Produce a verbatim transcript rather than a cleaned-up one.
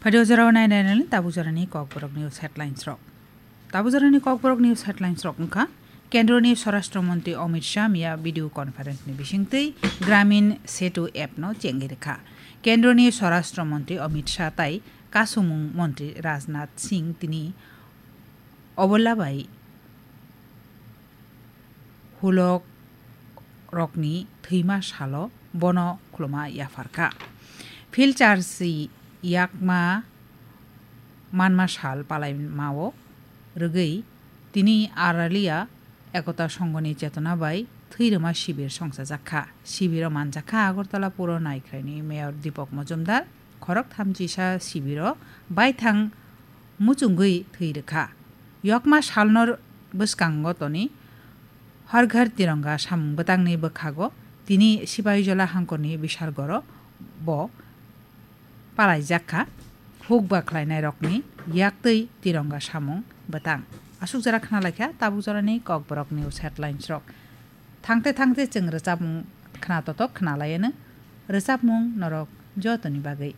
Phaidi o jorao nai nai nai tabuk jorani Kokborok news headlines rok. Tabuk jorani Kokborok news headlines rok wngkha, Kendroni Swarashtra Montri Amit Shah miya video conference ni bisingtwi Gramin Setu app no chengwi rwkha. Kendroni Swarashtra Montri Amit Shah tai Kasumung Montri Rajnath Singh tini obola bai hulok rokni thwima salo bono khuluma yapharkha. Phil charsi yakma manma sal palaimao rwgwi tini Aralia Ekota Songhoni chetona bai thwirwma sibir songchajakha. Sibiro manjakha Agartala Puro Naikhraini Mayor Deepak Majumdar, khorok thamchisa sibiro baithang muchungwi thwi rwkha. Yokma salno bwskango toni Har Ghar Tironga samung bwtangni bwkhago tini Sipahijola hangkorni bisargoro bo palaijak kha. Huk ba khlainairokni yaktwi Tironga samung bwtang. Aswk jora khna laikha tabuk jorani Kokborok news headlines rok. Thangte thangte chwng rwchapmung khna totok khna laiano. Rwchapmung norok jotoni bagwi